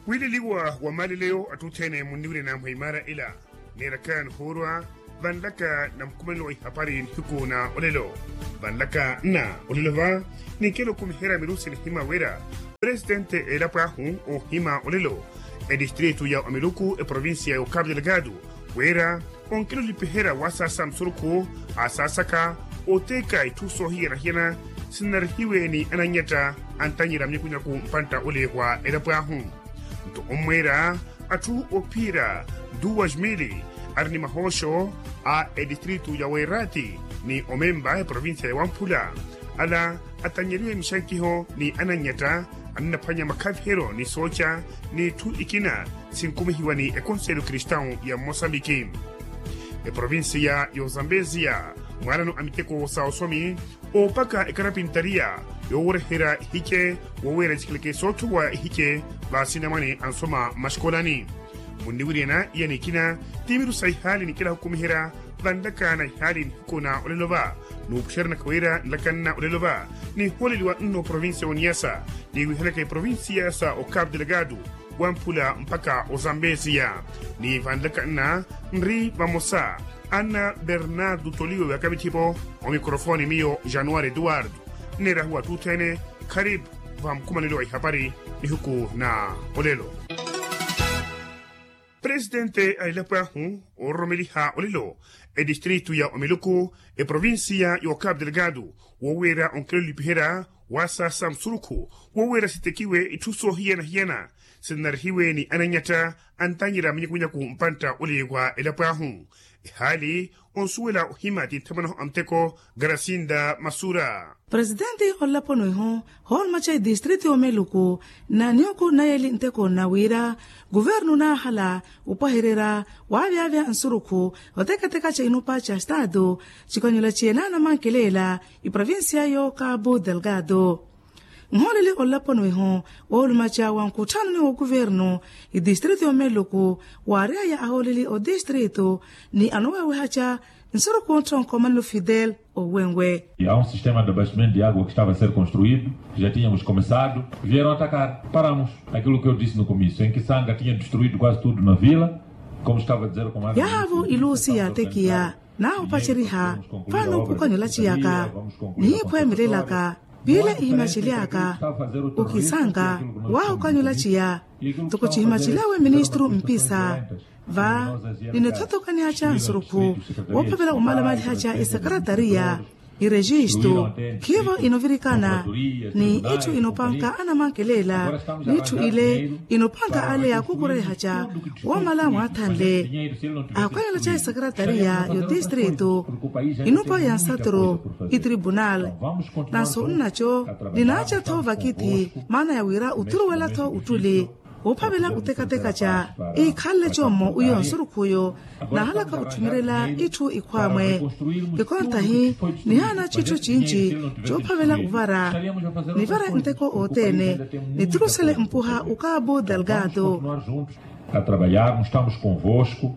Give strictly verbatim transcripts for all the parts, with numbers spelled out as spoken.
Wiileliwa wa maaleleyo atthu othene munniwirya namweimara ila, neerakani hoorwa vanlaka na mukumanelo wa ihapari nihiku na olelo. Vanlaka nna olelo va, ninkelo okumiherya mirusi nihima wira presitente elapo ahu ohima olelo, edistritu ya omiluku eprovincia ya okapu delgado, wira onkilolipiherya wasaasa musurukhu asaasaka oteeka itthu soohiyana-hiyana sinnarihiwe ni ananyatta antanyira mnyakunyaku mpantta ole wa elapo ahu. Nto ommweera atthu ophiira duas mili ari ni mahooxo a edistritu ya weerati ni omemba eprovincia ya wamphula, ala atanyeriwe mixankiho ni ananyatta annaphwanya makhaviheryo ni sooca n'itthu ikina sinkumihiwa ni ekonselo kristawu ya mmosambiki. Eprovinsiya y'ozambeziya mwaalano a miteko sa osomi oopaka ekarapintariya yoowereherya ihice woowira ecikeleke soothuwa ihice vaasinamwane ansoma mmaxikolani. Munniwiryana iya nikina ti miru sa ihaali ninkela hukumiherya vanlaka na ihaali nihiku na olelo va. Nuupuxeryanaka wira nlaka nna olelo va nihooleliwa nno provinsiya oniyasa niwihelaka eprovinsiya sa okapu delgado wamphula mpakha ozambesiya. Ni vanlaka nna nri vamosa anna bernardo toliwe wakavithi-po omikorofoni miyo januwari eduwardo. Nneerahuwa atthu othene kharipu va mukumanelo wa ihapari nihuku na olelo. Presitente a elapo ahu oororomeliha olelo edistritu ya omiluku eprovinsiya ya okapu delgado woowira onkilolipiherya wasaasa musurukhu woowira sitekiwe itthu soohiyana-hiyana sinnarihiwe ni ananyatta antanyira mnyakunyaku mpantta ole wa elapo ahu. Ehaali onsuwela ohima ti nthamanaho a muteko grasinda masura. Presitenti olaponi ihu hoolumaca edistritu y'omeluku na nihuku nayeli nteko na wira kuvernu naahala opwahererya waavyavya nsurukhu otekateka ca inupa ca estatu cikanyula ciye naanamankelela iprovinsiya y'okapu delgado. Nhooleli olaponi ihu woolumaca wa nkutthano ni wookuvernu idistritu y'omeluku waaryaya ahooleli odistritu ni anowewehaca nsurukhu ontthonko manlu fidel owenwe. Há um sistema de abastecimento de água que estava a ser construído, já tínhamos começado, vieram atacar, paramos. Aquilo que eu disse no comício em que sanga tinha destruído quase tudo na vila, como estava a dizer o comando yahavo ilusi yaatekiya naahupaceriha fano okanyula ciyaka nihiphwemelelaka piila ihimacelyaka okisanga waahukanyula ciya. Toko cihimacelawe ministru mpisa va ninithotokaniha ca nsurukhu woophavela omalamaliha ca esekaratariya irejistu khiivo inovirikana ni itthu inopanka anamankelela n'itthu ile inopanka ale yaakukureha ca woomala mwaathanle. Akhwanyela ca esekaratariya y'odistritu inupa ya nsaturu itribunal nanso nnaco ninaaca-tho vakithi maana ya wira oturuwela-tho ottuli woophavela otekateka ca iikhanle commo wiyo nsurukhuyo naahalaka otthumelela itthu ikhwaamwe. Ikontahi nihaana citthu cinci coophavela ovara nivara nteko othene niturusele mpuha okapu delgado. A trabalharmos estamos convosco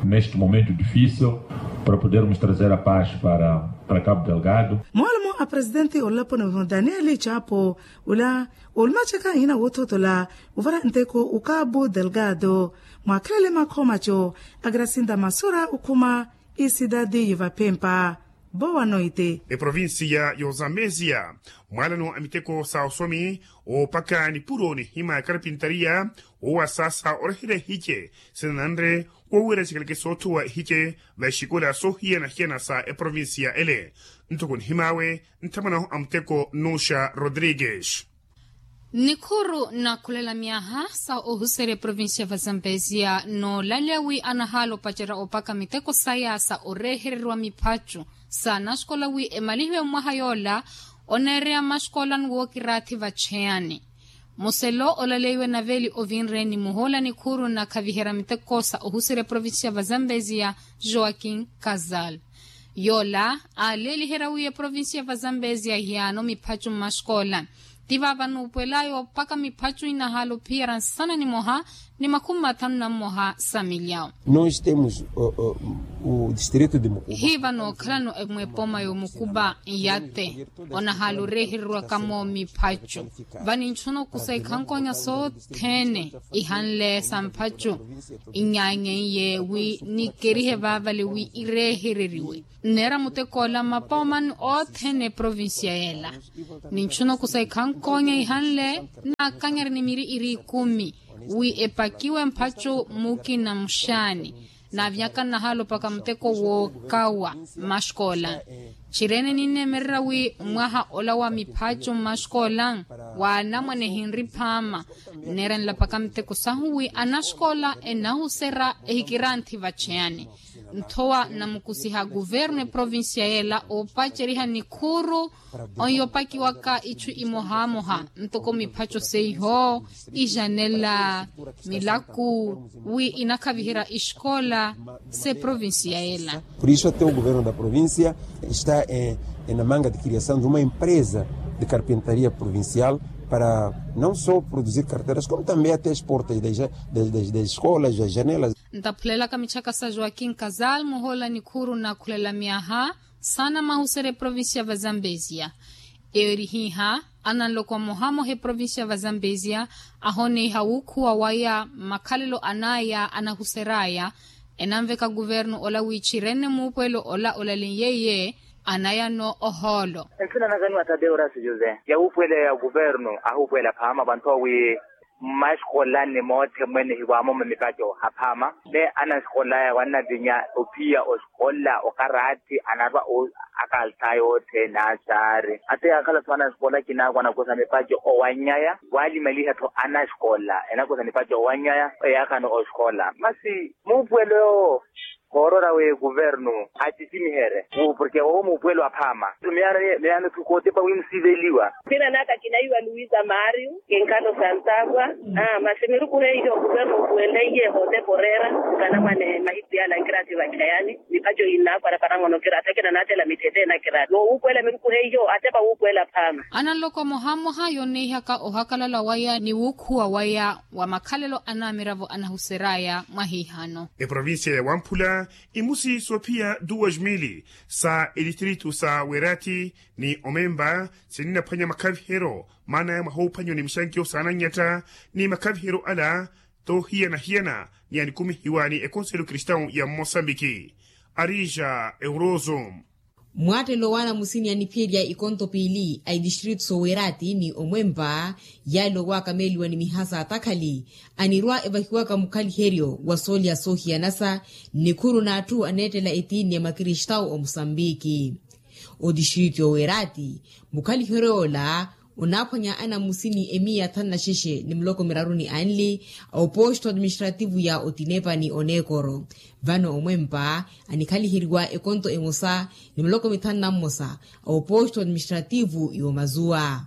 neste momento difícil para podermos trazer a paz para para capo delgado. Moolomo a presidenti olaponi daniel chapo ula olumacaka hina woothotola ovara nteko okapu delgado mwaakhelele makhomaco a grasinda masura okhuma isidadi yivapempa. Boa noite. Eprovinsiya y'ozambeziya mwaalano a miteko sa osomi oopaka nipuro nihima ya karapintariya woowasaasa oreherya ihice sinananre woowira cikaleke soothuwa ihice va exikola soohiyana-hiyana sa eprovinsiya ele. Ntoko nihim'awe nthamwanahu a muteko nnuxa rodrigues. Nikhuru nakhulela myaha sa ohuserya eprovinsiya va zambezia noolaleya wi anahaala opacerya opaka miteko saya sa orehereriwa miphacu sa naxikola wi emalihiwe mwaha yoola oneereya maxikola ni wookiraathi vacheyani. Muselo olaleiwe naveli ovinre ni muhoola nikhuru nakhaviherya miteko sa ohuserya eprovinsiya va zambezia joaquin casal. Yoola aaleeliherya wi eprovinsiya va zambezia hiyaano miphacu mmaxikola. Ti vaava nuupuwelaya opaka miphacu inahaala ophiyerya nsana nimoha ni makhumi mathanu na mmoha sa milyawu. Nós temos, uh, uh, Distrito de mukuba. Hiiva nookhalano emwepoma y'omukuba nyate onahaala oreehereriwaka-mo miphacu. Vaninchuna okusa ikhankonya sothene ihanle sa mphacu. Inyaanyenye wi nikerihe vaavale wi ireehereriwe nneera mutek'ola mapomani othene eprovincia y'ela. Ninchuna okusa ikhankonya ihanle naakanyari ni miri iri ikumi wi epakiwe mphacu mukina muxaani. Naavyaka nnahaala opaka muteko wookawa mmaxkoola. Txirene ninneemererya wi mwaha ola wa miphacu mmaxkoola wa anamwane ehinri phaama. Nneera nlapaka muteko sahu wi anaxkoola enahuserya ehikiranthi vacheyani. Nthowa nnamukusiha kuvernu eprovincia y'ela oopaceriha nikhuru onyopakiwaka itthu imohamoha ntoko miphaco seiho ijanela milaku wi inakhaviherya ixkoola s'eprovincia y'ela. Por isso até o governo da província está em, em na manga de criação de uma empresa de carpintaria provincial para não só produzir carteiras como também até as portas das, das, das escolas, das janelas. Ntaphulelaka mitthaka sa joaquim casal muhoola nikhuru naakhulela myaha saana mahuserya eprovincia va zambezia. Eyo eri hiiha ananloko mmohamoha eprovincia va zambezia ahoneiha wuukhuwa waya mmakhalelo anaya anahuseraya. Enanveka kuvernu ola wi txirene muupuwelo ola olaleiye iye anayano ohoolo. Nsina nakaniwa tadeo rasi jose ya wuupuwela ya kuvernu ahuupuwela phaama vanthowa wi mmaxikola ni moothe mwene hiwaamoma mipaco aphaama. Ne anaxikola aya wannavinya ophiya oxikola okarathi anarwa akaltha yoothe naxaari ate yaakhala-tho anaxikola kinaakwa anakosa mipaco owanyaya. Waalimaliha-tho anaxikola enakosa mipaco owanyaya eyaakano oxikola masi muupuwelo koorora wi kuvernu atitimiherye porke owo muupuwelo aphaama. Miyano miyano-tho kootepa wi musiveliwa. Sina naka kinaiwa luisa mario kinkhala osantaakwa. Masi miruku heiyo kuvernu okuwenleiye hootepa oreera nkanamwane mahiku yaala nkirati vakhayani. Mipaco innaakwa raparangono kirati akina naatela mitthete nakirati noowuupuwela miruku heiyo atepa wuupuwela phaama. Ananloko mmohamoha yonneihaka ohakalala waya ni wuukhuwa waya wa makhalelo anaamiravo anahuseraya mwahiihano. Eprovincia ya wamphula imusi soophiya duas mili sa edistritu sa werati ni omemba sininnaphwanya makhaviheryo maana ya mwaha oophanyiwa ni mixankiyo saananyatta ni makhaviheryo ala toohiyana-hiyana ni anikumihiwa ni ekonselo kristawu ya mmosambiki. Arija euroso. Mwaattelo w'anamusini aniphiyerya ikonto piili a edistritu sowerati ni omwempa yaale owakameeliwa ni mihasa atakhali anirwa evahiwaka mukhaliheryo wa soolya soohiyanasa nnikhuru n'atthu aneettela etiini ya makristawu omusambiki. Otistritu yowerati mukhaliheryo yoola onaaphwanya anamusini emiya thanu na xexe ni muloko miraru ni anli a oposto administrativu ya otinepa ni oneekoro. Vano omwempa anikhaliheryiwa ekonto emosa ni miloko mithanu na mmosa a oposto administrativu y'omazuwa.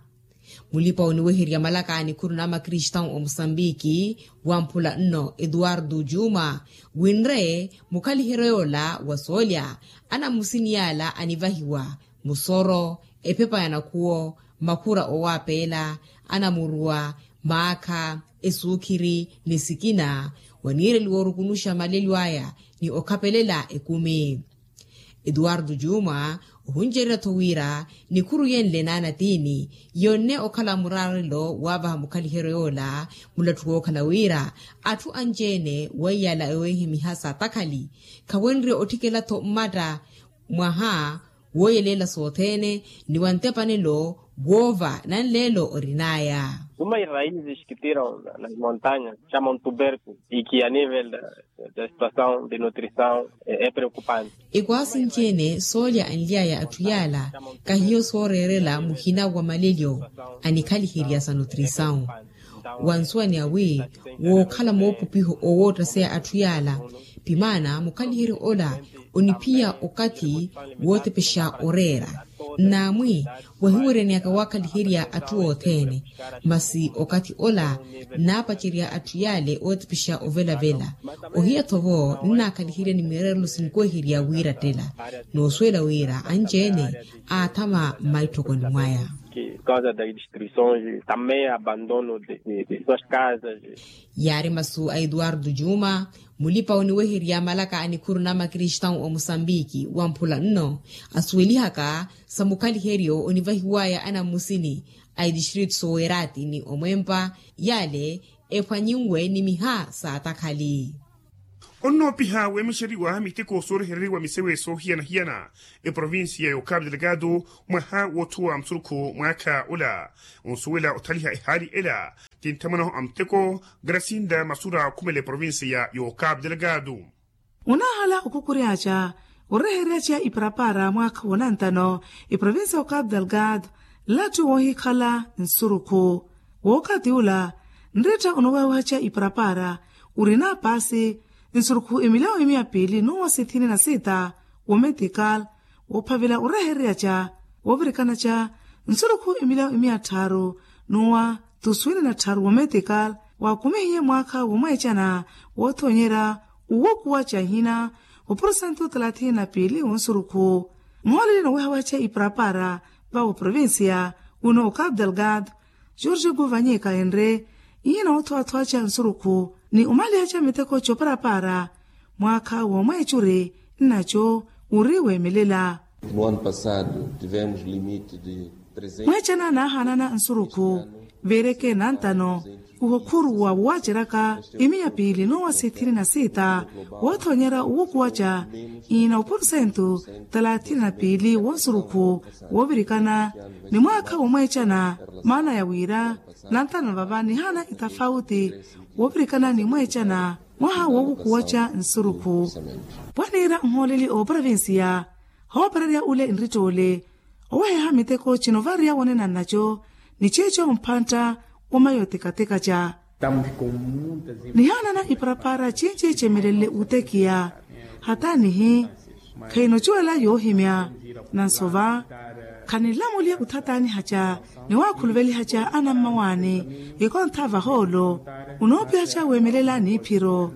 Mulipa oniweherya malaka a nikhuru n'amakristawu omusambiki wamphula nno etuwartu juma winre mukhaliheryo yoola wa soolya anamusini yaala anivahiwa musoro ephepa ya nakhuwo makhura owapeela anamuruwa maakha esuukhiri ni sikina waniireliwa orukunuxa malelyo aya ni okhapelela ekumi. Etuwartu juma ohuncererya-tho wira nikhuru yenle naanatiini yonne okhala muraarelo waavaha mukhaliheryo yoola mulattu wookhala wira atthu anci-ene weiyala eweehe mihasa atakhali khawenrye otthikela-tho mmatta mwaha wooyeleela sothene ni wa ntepanelo woova nanleelo orin'aya. Uma iraizi xikitira na montaña xama ontuberku iki a nivel da situasaw de nutrisaw e preokupante. Ekwaasi nci-ene soolya anly'aya atthu yaala kahiyo sooreerela muhina wa malelyo anikhaliherya sa nutrisaw. Wansuwani awi wookhala moopupiho owoottaseya atthu yaala pimaana mukhaliheryo ola oniphiya okathi wootepexa oreera nnaamwi wahiwerenyaka waakhaliherya atthu othene. Masi okathi ola nnaapacerya atthu yaale ootepexa ovelavela ohiya-tho-vo nnaakhalihirya ni mireerelo sinkweherya wiirattela noosuwela wira anci-ene aathama mmaitthokoni mwaya. causa das destruições também abandono de suas casas. Yaari masu a eduardo juma, mulipa oniweherya malaka a nikhuru na makristawu omusambiki wamphula nno asuwelihaka sa mukhaliheryo onivahiwaya anammusini a edistritu sowerati ni omwempa yale ephwanyinwe ni miha saatakhali. Onnoopiha weemexeriwa miteko soorehereriwa misewe soohiyana-hiyana eprovincia ya okapu delgado mwaha woothuwa musurukhu mwaakha ola. Onsuwela othaliha ehaali ela ti nthamwanahu a muteko grasinda masura khumela eprovincia ya okapu delgado. Onaahala okhukuryaaca oreheryaca iparapara mwaakha wa nantano eprovincia ya okapu delgado nlattu woohikhala nsurukhu. Wookathi ula nreetta onowawahaca iparapara orina paasi nsurukhu emilyawo emiya piili n'uwa sithini na sita wometikal woophavela orehereryaca woovirikanaca nsurukhu emilyawo emiya tthaaru n'uwa tuswini na tthaaru wometikal waakumihiye mwaakha womweecana woothonyerya uwokuwaca ehina wa porsentu talathini na piili wonsurukhu. Mmooleli nowehawaca iparapara vawo provincia uno okapu delgado jorge guvanyika enre iye noothowathwaca nsurukhu ni omalihaca miteko coparapara mwaakha womweecuri nnaco uri weemelela. No ano passado tivemos limite de mweecana naahaanana nsurukhu veereke nantano kuhokhuruwa woowaceraka emiya piili n'uwa sithini na sita woothonyerya owukuwaca iina opursentu talathini na piili wonsurukhu woovirikana ni mwaakha womweecana maana ya wira nantano vava nihaana itafauti woovirikana ni mweecana mwaha wookukuwaca nsurukhu. Pwaniira nhooleli ooprovincia hoopererya ule nrittoole oweheha miteko cino variya wonena nnaco ni ceeco mphantta wa mayo tekateka ca nihaanana iparapara cinci cemelelle utekiya hataanihi khayinocuwela yoohimya nansova khaninlamulya uthataanihaca ni waakhuluvelihaca anammawaani ikontha vahoolo onoopihaca weemelela niiphiro.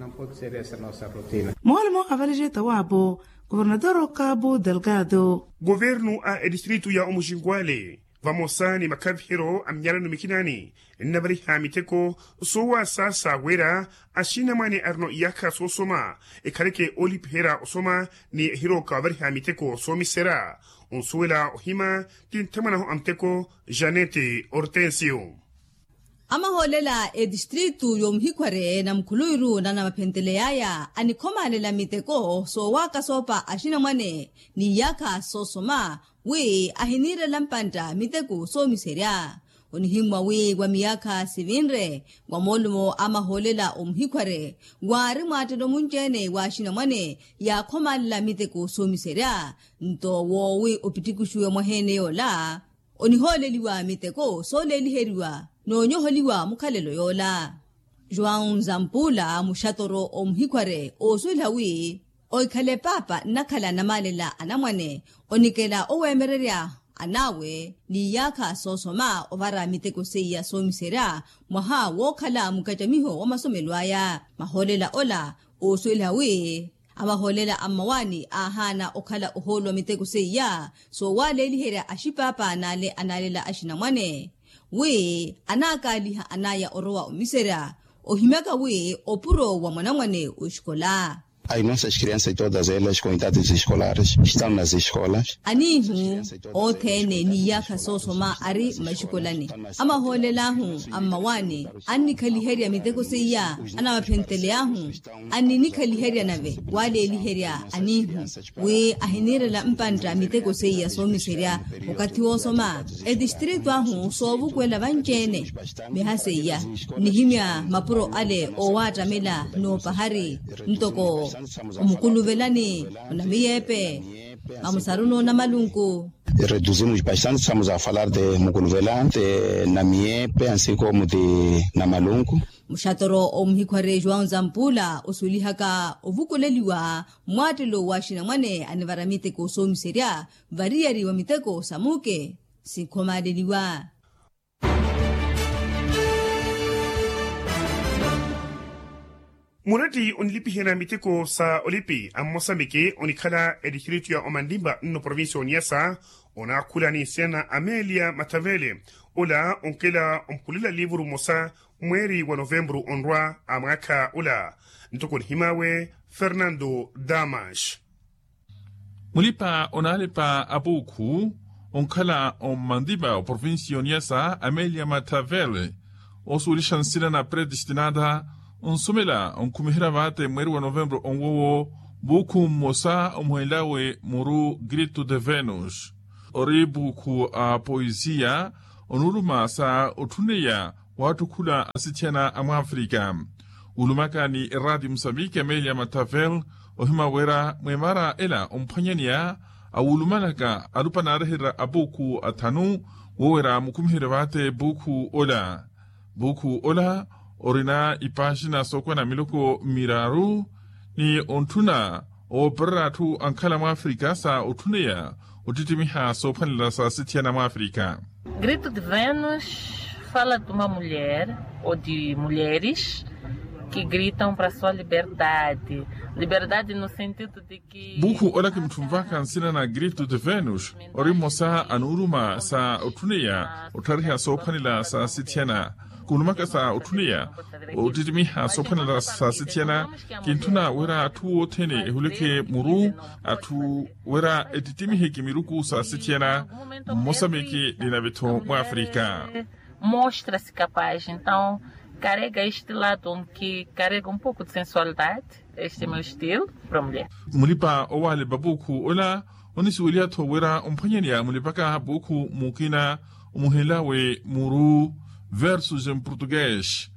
Moolimo avalije tawaapo governador okapu delgado. Governu a edistritu ya omuxinkwale vamosa ni makhaviheryo a minyarano mikinaani nnavariha miteko soowasaasa wira axinamwane arino iyaakha soosoma ekhaleke oolipiherya osoma ni ehirooka ovariha miteko soomiserya onsuwela ohima ti nthamwanahu a muteko janete hortensio. Amahoolela etistritu y'omuhikhware na mukhuluwiru na namaphenteley'aya anikhomaalela miteko soowaaka soopa axinamwane n'iyaakha soosoma wi ahiniirela mpantta miteko soomiserya. Onihimmwa wi wa miyaakha sivinre wa moolumo a mahoolela omuhikhware waari mwaattelo munci-ene w'axinamwane yaakhomaalela miteko soomiserya nto woowi opittikixuwe mwaheene yoola onihooleliwa miteko sooleeliheriwa n'onyoholiwa mukhalelo yoola. João zampula muxatoro omuhikhware oosuweliha wi ohikhale paapa nnakhala namaalela anamwane onikela oweemererya an'awe n'iyaakha soosoma ovara miteko seiya soomiserya mwaha wookhala mukacamiho wa masomelo aya. Mahoolela ola oosuweliha wi amahoolela a mmawaani aahaana okhala ohooluwa miteko seiya soowaaleeliherya axipaapa n'ale anaalela axinamwane wi anaakaaliha an'aya orowa omiserya ohimyaka wi opuro wa mwanamwane oxikola. As nossas crianças todas elas com idades escolares estão nas escolas. Aniihu othene n'iyaakha soosoma ari mmaxikolani amahoolela ahu a mmawaani annikhaliherya miteko seiya anamaphenteley'ahu anninikhaliherya nave waaleeliherya aniihu wi ahiniirela mpantta miteko seiya soomiserya okathi woosoma etistritu ahu soovukwela vanci-ene miha seiya nnihimya mapuro ale oowaattamela n'opahari ntoko omukuluvelani onamiyeepe mamusaruni onamalunku. Reduzimos bastante estamos a falar de mukuluvelante na miyeepe ansi como de na malunku. Muxatoro omuhikhware joão zampula osuwelihaka ovukuleliwa mmwaattelo w'axinamwane anivara miteko soomiserya variyari wa miteko sa muuke sikhomaaleliwa. Muratti onilipiherya miteko sa olipi a mmosambiki onikhala etistritu ya omanlimba nno provincia oniyasa onaakhula ni nsiyana amelia mathavele Ola onkela omphulela liivuru mmosa mweeri wa novempuru onrwa a mwaakha ola. Ntoko nihimawe fernando damas. Mulipa onaalepa a puukhu onkhala ommandipa oprovincia oniyasa amelia mathavel, osuwelixa nsina na predestinada onsomela onkhumiherya vaate mweeri wa novempuru onwowo. Puukhu mmosa omuhenlawe muru grito de venus, ori puukhu a poisia onuuluma sa otthuneya waattukhula asithiyana a mwafrika. Wulumaka ni eraati musambiki amelia mathavel ohima wira mwemara ela omphwanyaneya awulumanaka alupa naareherya apuukhu athanu, wo wira mukhumiherye vaate puukhu ola. Puukhu ola orina ipaaxina sookwana miloko miraru ni ontthuna oopererya atthu ankhala mwafrika sa otthuneya ottittimiha soophwanela sa asithiyana mwafrika. Grito de venus fala de uma mulher ou de mulheres que gritam para sua liberdade. Liberdade no sentido de que puukhu ola kimutthumpaka nsina na grito de venus, ori mmosa anuuluma sa otthuneya otthariha soophwanela sa asithiyana. Kuulumaka sa otthuneya ottittimiha soophwanela sa asithiyana. Kintthuna wira atthu othene ehuleke muru atthu wira ettittimihe kimiruku sa asithiyana mmosamiki ni nave-tho mwafrika. Mostra-se capaz então, carrega este lado que carrega um pouco de sensualidade. Este meu estilo para mulher. Mulipa owaalepa puukhu ola onisuweliha-tho wira omphwanyaneya mulipaka puukhu mukina omuhenlawe muru versus em portugues,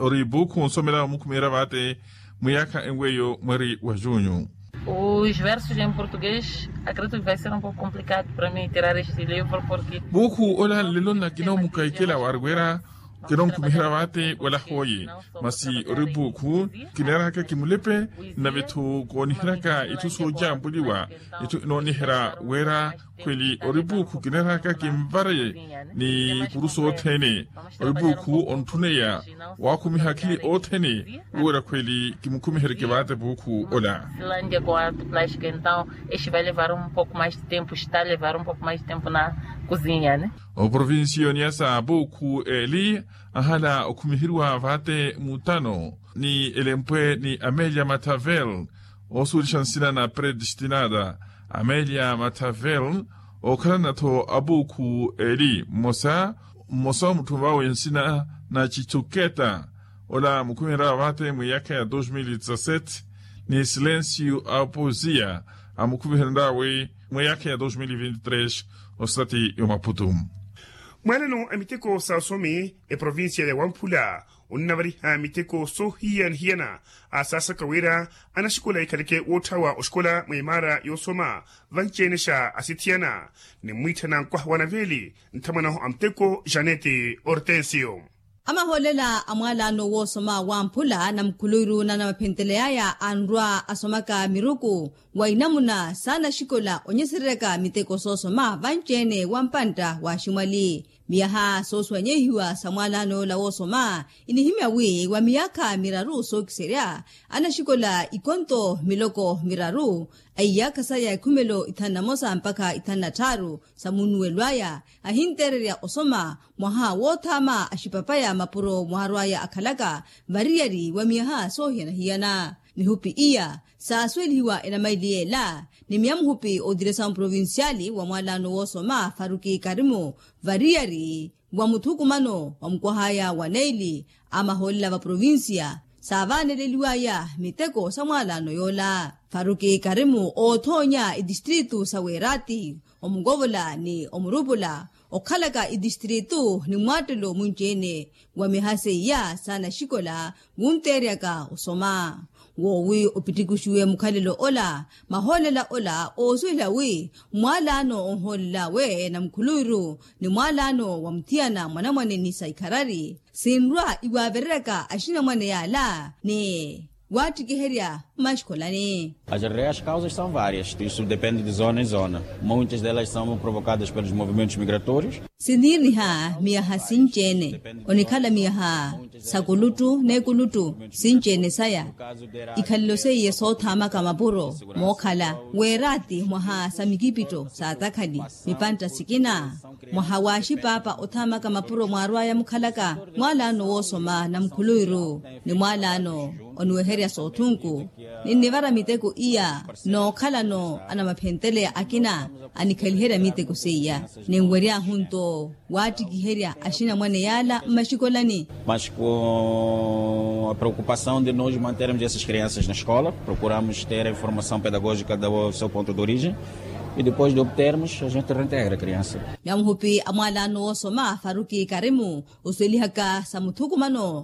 ori puukhu onsomela omukhumiherya vaate mwiyaakha enweyo mweeri wa junho. Os versos em português acredito que vai ser um pouco complicado para mim tirar este livro porque puukhu ola nlelo nnakina omukahikela wari wira kinonkhumiherya vaate wala hooye. Masi ori puukhu kineeraka kimulepe nave-tho kooniheryaka itthu soojampuliwa, itthu inooniherya wira khweli ori puukhu kineeraka kinvare ni ikuru sothene. Ori puukhu ontthuneya waakhumiha akhili othene. Wira khweli kimukhumiheryeke vaate puukhu ola. Silanje com arte plástica então este vai levar um pouco mais de tempo está levar um pouco mais de tempo na cozinha né. Oprovincia oniyasa apuukhu eli ahala okhumiheriwa vaate mutano ni elempwe ni amelia mathavel, osuwelixa nsina na predestinada amelia mathavel. Okhalana-tho apuukhu eli mmosa mmosa omutthumvawe nsina na chithuketa, ola mukhumiherya vaate mwiyaakha ya dos mil e dezassete ni silencio aposia amukhumiheryawe mwiyaakha ya dos mil e vinte e tres. Osati yomaputu. Mwaalano a miteko sa osomi eprovincia ya wamphula onnavariha miteko soohiyana-hiyana. Asaasaka wira anaxikola ekhaleke wootthawa oxikola mwa imaara yoosoma vanci-ene xa asithiyana. Nimmwiitthana nkwaha wa naveeli nthamwanahu a muteko janete hortensio. Amahoolela a mwaalaano woosoma wamphula na mukhuluwiru na namaphenteleyaya anrwa asomaka miruku wa inamuna saana axikola onyesereryaka miteko soosoma vanci-ene wa mpantta wa aximwali. Miyaha soosuwanyehiwa sa mwaalaano yoola woosoma inihimya wi wa miyaakha miraru sookiserya anaxikola ikonto miloko miraru a iyaakha saya ikhumelo ithanu na mosa mpakha ithanu na tthaaru sa munnuwelo aya ahinteererya osoma mwaha woothaama axipapaya mapuro mwaarwaya akhalaka variyari wa miyaha soohiyana-hiyana. Mihupi iya saasuwelihiwa enamaili yeela ni miyamuhupi otiresa mprovinciali wa mwaalaano woosoma faruki karimu variyari wa muthukumano wa mukwahaya wa neili a mahoolela va provincia saavaaneleliwaya miteko sa mwaalaano yoola. Faruki karimu oothoonya itistritu sa weerati omukovola ni omurupula okhalaka itistritu ni mwaattelo munci-ene wa miyaha seiya saana axikola wunteeryaka osoma. Woowi opittikuxiwe mukhalelo ola mahoolela ola oosuwela wi mwaalaano onhoolelawe na mukhuluwiru ni mwaalaano wa muthiyana mwanamwane ni sa ikharari sinrwa iwaavereryaka axinamwane yaala ni waattikiherya mmaxikolani. As reais causas são várias isso depende de zona em zona, muitas delas são provocadas pelos movimentos migratórios. Siniiriha miyaha sinci-ene, onikhala miyaha sa kuluttu n'ekuluttu sinci-ene saya. Ikhalelo seiye soothaamaka mapuro mookhala weeraati mwaha sa mikipitto saatakhali, mipantta sikina mwaha waaxipaapa othaamaka mapuro mwaarw'aya mukhalaka mwaalaano woosoma na mukhuluwiru ni mwaalaano oniweherya soothunku. Ninnivara miteko iya nookhalano anamaphenteleya akina anikhaliherya miteko seiya. Ninwery'ahu nto waattikiherya axinamwane yaala mmaxikolani. Mas com a preocupação de nós mantermos essas crianças na escola, procuramos ter a informação pedagógica do seu ponto de origem e depois de obtermos a gente reintegra a criança. Namuhupi a mwaalaano woosoma faruki karimu osuwelihaka sa muthukumano